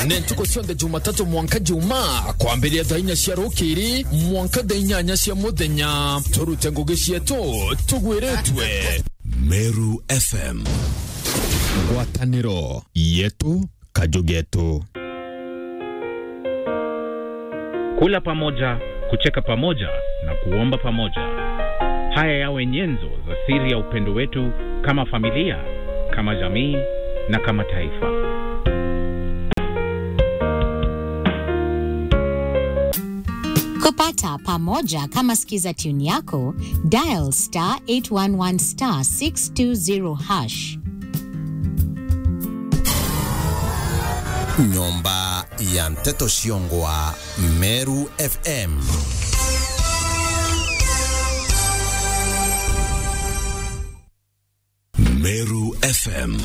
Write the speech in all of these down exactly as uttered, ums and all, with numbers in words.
Ni ntuku cionthe Jumatatu mwanka Jumaa, kwambiria thaa inya cia rukiri mwanka thaa inyanya cia muthenya. Turute ngugi cietu tugwiritwe. Meru F M. Ngwataniro yetu, kaju getu. Kula pamoja, kucheka pamoja na kuomba pamoja. Haya yawe nyenzo za siri ya upendo wetu kama familia, kama jamii na kama taifa. Kupata pamoja kama skiza tune yako, dial star eight one one star six two zero hash. Nyomba ya nteto ciongwa Meru F M. Meru F M.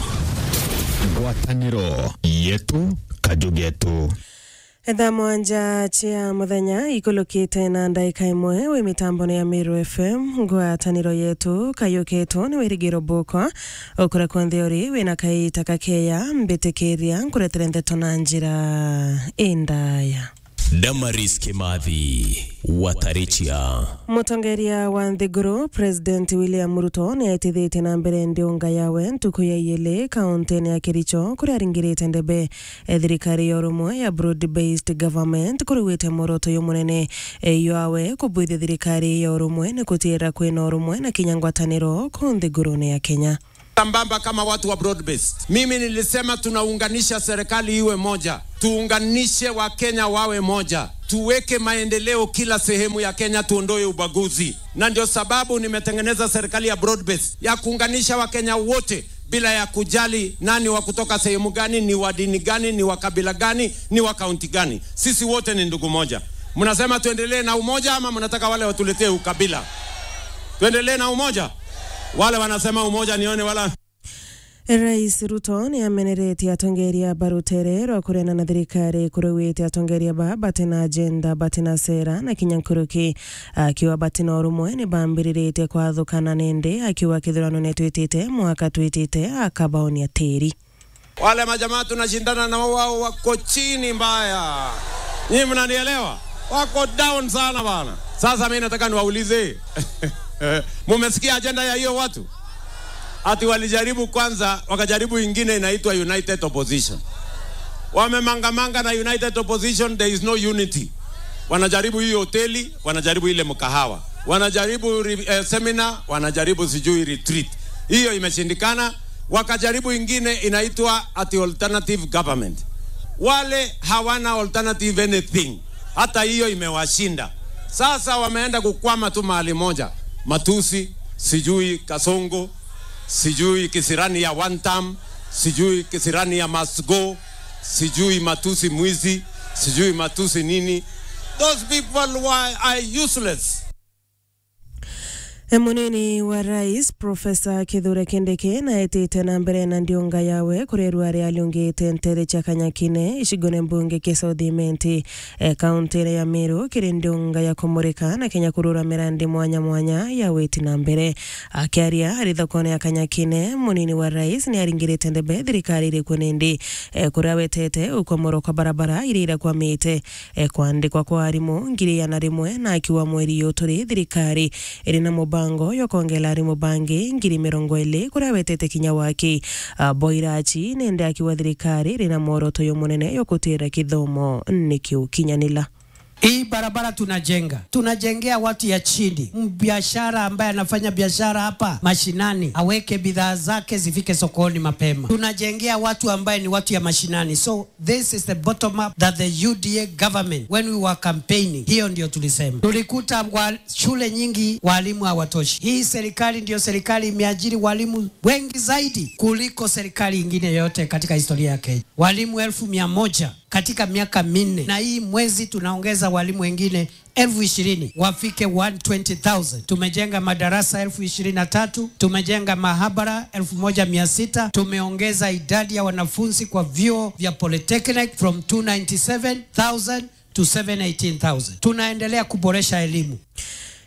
Ngwataniro yetu, kaju getu. Thaa mwanja cia muthenya ikulukite na ndaika imwe, wi mitambone ya Meru F M, ngwataniro yetu, kayukitwo ni Wirigiro Bukwa. Ukura kwonthe uri, wina kaita kakeya, mbitikiria nkuretere ndeto na njira indaya. Damaris Kimathi, Watarichia. Mutongeria wa nthiguru, President William Ruto, niaitithitie na mbere ndiunga yawe ntuku ya iili kauntine ya Kericho, kuria aringirite ndebe, e, thirikari ya urumwe ya broad-based government, kuriwite mworoto jumunene, e, jwawe kubwithia thirikari ya urumwe ni kutiira kwina urumwe na kinya ngwataniro ku nthigurune ya Kenya. Sambamba kama watu wa broad based. Mimi nilisema tunaunganisha serikali iwe moja. Tuunganishe Wakenya wawe moja. Tuweke maendeleo kila sehemu ya Kenya, tuondoe ubaguzi. Na ndio sababu nimetengeneza serikali ya broad based, ya kuunganisha Wakenya wote bila ya kujali nani wa kutoka sehemu gani, ni wa dini gani, ni wa kabila gani, ni wa kaunti gani. Sisi wote ni ndugu moja. Mnasema tuendelee na umoja ama mnataka wale watuletee ukabila? Tuendelee na umoja? Wale wanasema umoja, nione wala. Rais Ruto ni ameneretie atongeria ba rutere rwa kuregana na thirikari, kuruwite atongeria ba bati na agenda, bati na sera na kinya nkuruki, akiuga bati na urumwe ni bambiriritie kwathukana, nindi akiuga kithurano ni twitite mwaka twitite akabaonia tiri. Wale majamaa tunashindana na wao wako chini mbaya. Nyinyi mnanielewa? Wako down sana bana. Sasa mimi nataka niwaulize. Mumesikia ajenda ya hiyo watu? Ati walijaribu kwanza, wakajaribu ingine inaitwa United Opposition. Wamemangamanga na United Opposition, there is no unity. Wanajaribu hii hoteli, wanajaribu ile mkahawa. Wanajaribu re-, eh, seminar, wanajaribu sijui retreat. Hiyo imeshindikana. Wakajaribu ingine inaitwa ati alternative government. Wale hawana alternative anything. Hata hiyo imewashinda. Sasa wameenda kukwama tu mahali moja. Matusi, sijui Kasongo, sijui kisirani ya one term, sijui kisirani ya must go, sijui matusi mwizi, sijui matusi nini. Those people were, are useless. E, munini wa rais, Professor Kithure Kindiki, naetite na mbere na ndiunga yawe kurerua aria aliungite ntere cia Kanyakine, icigone mbunge kia South Imenti, e, kauntine ya Meru, kiri ndiunga ya kumurika na kinya kurura mirandi mwanya mwanya ya witi na mbere. Akiaria ari thokone ya Kanyakine, munini wa rais ni aringirite ndebe thirikari iriku nindi, e, kuria wetete ukomoro kwa barabara iria irakwamite, e, kwandikwa kwa arimu ngiri igana rimwe na akiuga mweri uyu turi thirikari iri na mubango jwa kwongela arimu bangi ngiri mirongo iri, kuria wetete kinya waki, a, bwa irachi, nindi akiuga thirikari iri na mworoto jumunene jwa gutwira kithomo nikiukinyanila. Hii barabara tunajenga, tunajengea watu ya chini. Mbiashara ambaye anafanya biashara hapa mashinani aweke bidhaa zake zifike sokoni mapema. Tunajengea watu ambaye ni watu ya mashinani. So this is the bottom up that the U D A government, when we were campaigning, hiyo ndio tulisema. Tulikuta wa-, shule nyingi walimu hawatoshi. Hii serikali ndio serikali imeajiri walimu wengi zaidi kuliko serikali ingine yote katika historia ya Kenya. Walimu elfu mia moja katika miaka minne, na hii mwezi tunaongeza walimu wengine elfu ishirini, wafike one twenty thousand. Tumejenga madarasa elfu ishirini na tatu, tumejenga mahabara elfu moja mia sita, tumeongeza idadi ya wanafunzi kwa vyuo vya polytechnic from two ninety seven thousand to seven eighteen thousand. Tunaendelea kuboresha elimu.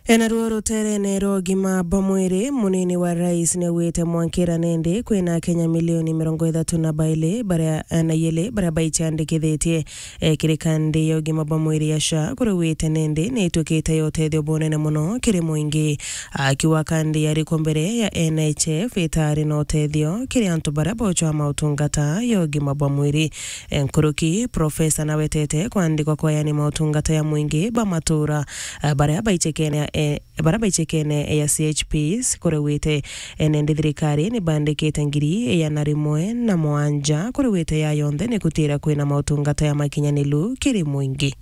Enaruo ruterene rwa ugima bwa mwiri, munini wa rais niaugite mwankira nindi kwina Akenya milioni mirongo ithatu na bairi baria, na iiri baria baiciandikithitie, eh, kiri kandi ya ugima bwa mwiri ya SHA, kuria augite nindi niituikite ya utethio bunene muno kiri mwingi. Akiuga kandi yarikwo mbere ya N H F itari na utethio kiri antu baria bocwa mautungata ya ugima bwa mwiri. Eh, nkuruki, Profesa nawetete kwandikwa kwa yani mautungata ya mwingi ba matura, eh, baria baicekene, eh, baria baicekene ya C H Ps, kuria augite, eh, nindi thirikari nibandikite ngiri igana rimwe na mwanja, kuria augite ya yonthe ni kutira kwina mautungata ya makinyanilu kiri mwingi.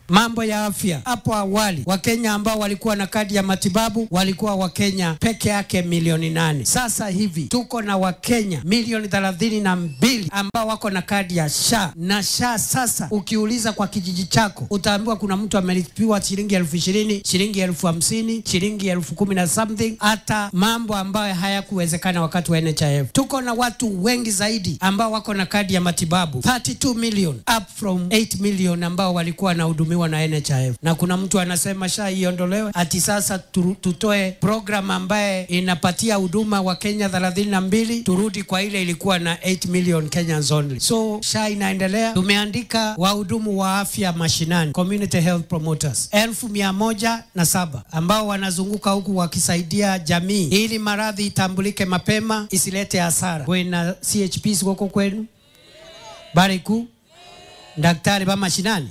Mambo ya afya. Hapo awali, Wakenya ambao walikuwa na kadi ya matibabu walikuwa Wakenya peke yake milioni nane. Sasa hivi, tuko na Wakenya milioni thelathini na mbili ambao wako na kadi ya SHA. Na SHA sasa, ukiuliza kwa kijiji chako, utaambiwa kuna mtu amelipiwa shilingi elfu ishirini, shilingi elfu hamsini, shilingi elfu kumi na something, hata mambo ambayo hayakuwezekana wakati wa N H I F. Tuko na watu wengi zaidi ambao wako na kadi ya matibabu, thirty-two million, up from eight million ambao walikuwa wanahudumiwa na N H I F. Na kuna mtu anasema SHA iondolewe, ati sasa tu-, tutoe program ambaye inapatia huduma wa Kenya thelathini na mbili, turudi kwa ile ilikuwa na eight million Kenyans only. So, SHA inaendelea. Tumeandika wahudumu wa afya mashinani, community health promoters, elfu mia moja na saba, ambao wanazunguka huku wakisaidia jamii ili maradhi itambulike mapema, isilete hasara. Kwina C H Ps guku kwenu? Bariku? Daktari ba mashinani?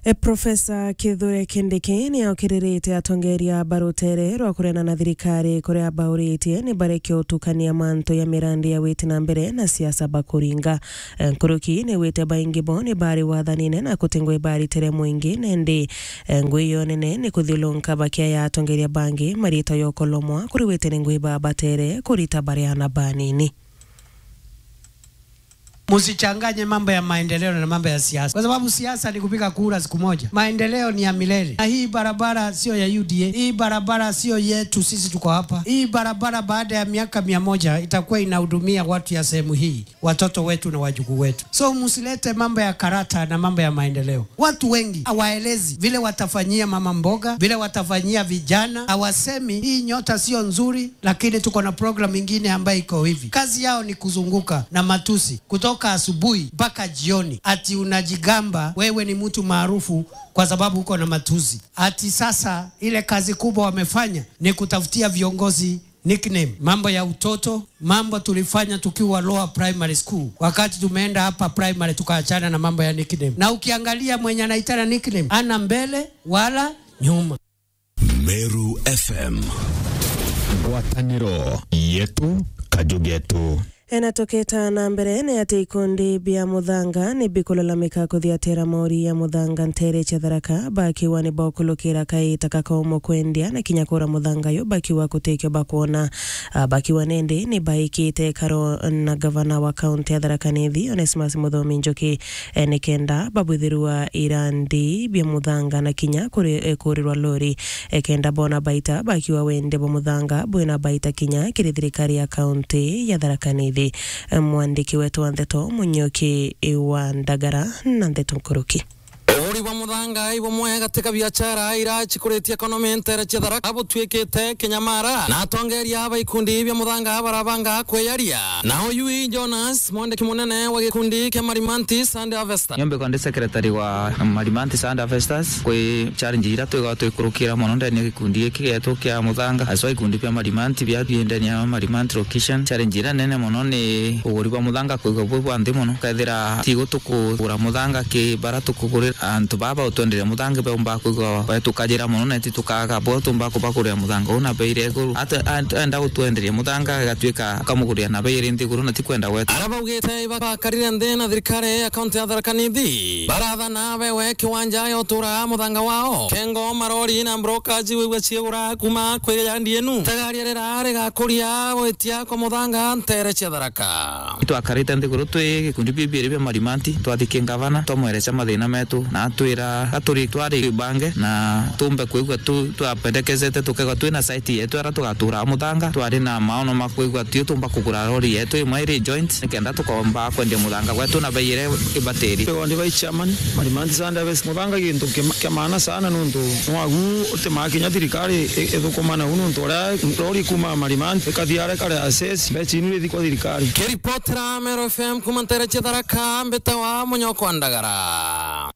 E, Profesa Kithure Kindiki niaokiririte atongeria ba rutere rwa kuregana na thirikari, kuria abauritie ni bareke utukania mantu ya mirandi ya witi na mbere na siasa bakuringa. E, nkuruki niaugite baingi bo ni bari wathanine na kutingwa ibaritire mwingi, nindi, e, ngui yo nene ni kuthiulunka bakiaya atongeria bangi marita yokolomwa, kuria augite ni ngui babatere kurita bari ana banini. Msichanganye mambo ya maendeleo na mambo ya siasa, kwa sababu siasa ni kupiga kura siku moja. Maendeleo ni ya milele. Na hii barabara sio ya U D A, hii barabara sio yetu sisi tuko hapa. Hii barabara baada ya miaka mia moja itakuwa inahudumia watu ya sehemu hii, watoto wetu na wajukuu wetu. So msilete mambo ya karata na mambo ya maendeleo. Watu wengi hawaelezi vile watafanyia mama mboga, vile watafanyia vijana. Hawasemi hii nyota sio nzuri, lakini tuko na program ingine ambayo iko hivi. Kazi yao ni kuzunguka na matusi kutoka asubuhi mpaka jioni, ati unajigamba wewe ni mtu maarufu kwa sababu uko na matusi. Ati sasa ile kazi kubwa wamefanya ni kutafutia viongozi nickname. Mambo ya utoto, mambo tulifanya tukiwa lower primary school. Wakati tumeenda hapa primary, tukaachana na mambo ya nickname. Na ukiangalia mwenye anaitana nickname, ana mbele wala nyuma. Meru F M. Ngwataniro yetu, kaju getu. Ena tuketa na mbere ni ati ikundi bia muthanga ni bikulalamika kuthiatira mauri ya muthanga ntere cia Tharaka, bakiwa ni bokulukira kaita kakaumo kwendia na kinya kura muthanga yu bakiwa kutikio bakwona. Ah, bakiwa nindi ni baikite karo na gavana wa kaunti ya Tharaka Nithi, Onesmus Muthomi Njuki, eh, nikenda babwithirwa irandi bia muthanga na kinya kuri, eh, kurirwa lori, eh, kenda bona baita bakiwa wende bwa muthanga bwina baita kinya kiri thirikari ya kaunti ya Tharaka Nithi. Eh, mwandiki wetu wa ndeto Munyoki wa Ndagara na ndeto nkuruki. Uguri bwa muthanga ibumwe gatika biachara ira cikuritie economy ntere cia Tharaka butwikite kinyamara, na atongeria ba ikundi bia muthanga barabanga kwiyaria. Na uyu i Jonas, mwandiki munene wa gikundi kia Marimanti Sand Harvesters. Nyombe kwa ndi secretary wa Marimanti Sand Harvesters, kwi challenge ira twiga twikurukira mono ndani ya gikundi giki getu kia muthanga, aswa ikundi bia Marimanti bia bie ndani ya Marimanti location. Challenge ira nene mono ni uguri bwa muthanga kwigwa bwi bwa nthi mono, kethira tigo tukugura muthanga ki bara tukugurira antu baba utwenderia muthanga beumba kwigwa batukajira mono, na ti tukaga bo tumba kubagurira muthanga una bei ira iguru. Ate-, ent-, enda gutwenderia muthanga, igatuika akamugurira na bei iri nthiguru, na ti kwenda gwetu. Ara baugite ibakarire nthi na thirikari ya kaunti ya Tharaka Nithi, barathana bewe kiwanja ya utura muthanga wao. Kengo, marori na brokaji wigua ciigura kuma kwi yandi enu. Itagaria rira rigakuria gwitia kwa muthanga ntere cia Tharaka. Twakarite nthiguru twi gikundi bibiiri bia Marimanti, twathiki ngavana, twamwereca mathina metu, na Twira aturi twari bange na tumbe kwigua tu twapendekezete tukegwa twina site yetu ara tugatura muthanga. Twari na maono ma kwigua tio tumba kugura lori yetu imwe iri joint nikenda tukomba kwendia muthanga gwetu na bei iria ibatiri. Twigwa ndi bai chairman, Marimanti Sunday Harvest. Muthanga gintu kia maana sana nuntu nwagu utimaa kinya thirikari ithukumaa nau nuntu uria lori kuma Marimanti ikathia aria kari assess, mbeca inu ithi kwa thirikari. Kiripotera Meru F M kuma ntere cia Tharaka, mbitawa Munyoko wa Ndagara.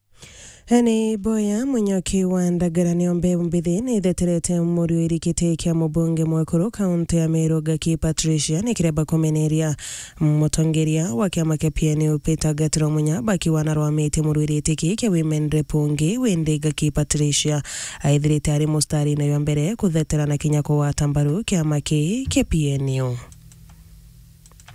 Ni Boya Munyoki wa Ndagara niyo mbeu mbithi ni itheterete muriuri giti kia mubunge mwekuru kaunti ya Meru Gaki Patricia ni kireba kumeneria mutongeria wa kiama kia P N U Peter Gatiro Munya bakiwa na rwamite muriuri giti ki kia women rep ungi windi Gaki Patricia aithirite ari mustarine jwa mbere kuthetera na kinya kugwata mbaru kiama ki kia P N U.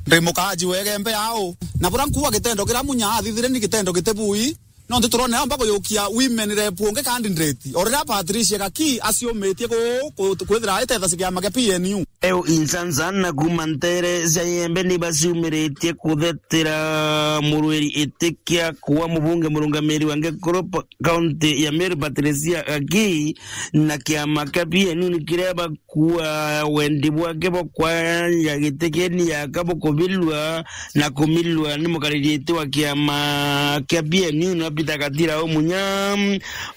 Ndi mukaaji wa Igembe au, na buria nkuuga gitendo kiria Munya athithire ni gitendo giti bui, nontu turona aumba kuyukia women rep ungi candidate, o riria Patricia Gaki aciumitie ku-, ku-, kwithira aitethecia kiama kia P N U. Eu insansan na kuuma ntere cia Igembe ni baciumiritie kuthetera murwiri iti kia kuwa mubunge murungamiri wa Ngekuru pa-, kaunti ya Meru Patricia Gaki, na kiama kia P N U ni kireba kuwa wendi bwake bwa kwanja giti kieni yaka bukubilwa na kumilwa ni mukariri iti wa kiama kia P N U na Peter Gatira Munya,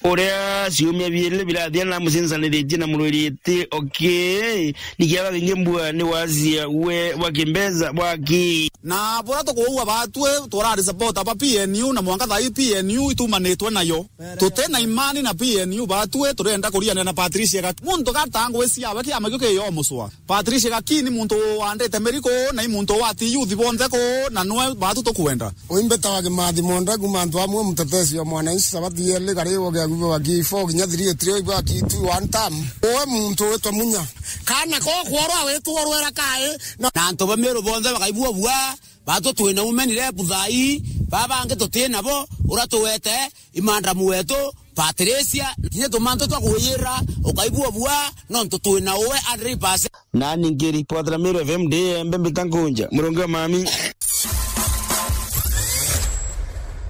uria ciumia biiri birathia na mucincaniritie na murwiri iti oki ni kiaba kingi mbua ni wasia we bwa kimbesa bwaki. Na buria tukuuga batwi turari supporter ba P N U na mwanka thaa ii P N U itumanitwe nayo. Tuti na imani na P N U batwi, turenda kuriania na Patricia Gaki. Muntu gata ngwi ciawe kiama kiu kiyo mucwa. Patricia Gaki ni muntu wandite miri ku, na i muntu wati youth bonthe ku, na nwe batwi tukwenda. Uimbeta wa Kimathi Monda kuma antu amwe mutetesi wa mwananchi sabati yeli kari wo gia gubo wa G four kinya three three ibwa kitu one term. Uwe muntu witwa Munya. Kana ko kworwa witwa rwera kai na, na antu ba Meru bonthe bakaibua bua. Batwi twina women rep thaa ii, baa bangi tuti nabo, uria tuwete, imadamu wetu, Patricia, kinya tumantu twa kwiyira, ukaibua bua, nontu twina uwe hundred percent. Nani nkiripotera Meru F M ndi Igembe mbita nkunja, murungi wa mami.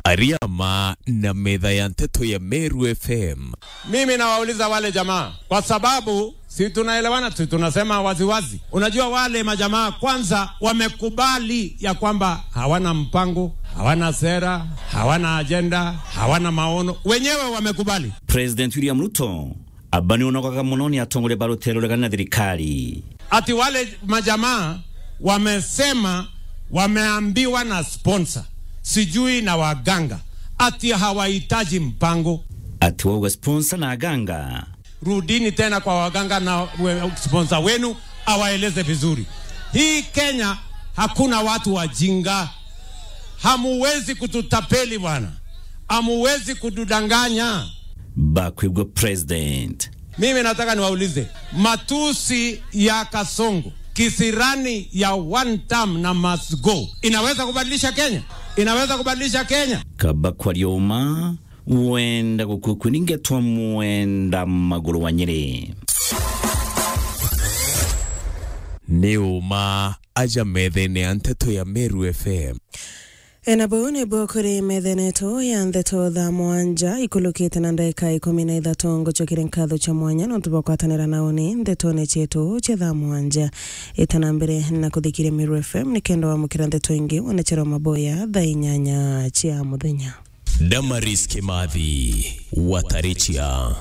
Ariama na metha ya nteto ya Meru F M. Mimi nawauliza wale jamaa, kwa sababu si tunaelewana, si tunasema waziwazi. Unajua wale majamaa kwanza wamekubali ya kwamba hawana mpango, hawana sera, hawana ajenda, hawana maono. Wenyewe wamekubali. President William Ruto aba ni unogaga muno ni atongoria ba rutere ruregani na thirikari. Ati wale majamaa wamesema wameambiwa na sponsor, sijui na waganga, ati hawahitaji mpango. Ati wauga sponsor na aganga. Rudini tena kwa waganga na we-, sponsor wenu awaeleze vizuri. Hii Kenya hakuna watu wajinga. Hamuwezi kututapeli bwana. Hamuwezi kutudanganya. Bakwigua president. Mimi nataka niwaulize, matusi ya Kasongo, kisirani ya one term na must go, inaweza kubadilisha Kenya? Inaweza kubadilisha Kenya? Kaba kwaria uma, wenda gukukuni ngetwa mwenda maguru wa Nyeri. Ni uma aja methene ya nteto ya Meru F M. Ena buu nibuo kuri methene yetu ya nteto thaa mwanja ikulukite na ndagika ikumi na ithatu. Ngucokere nkatho cia mwanya nontu bwa kwatanira na uni ntetone cietu cia thaa mwanja. Itana mbere na kuthikiria Meru F M nikenda wamukira nteto ingi wone chero maboya thaa inyanya cia muthenya. Damaris Kimathi, Watarichia.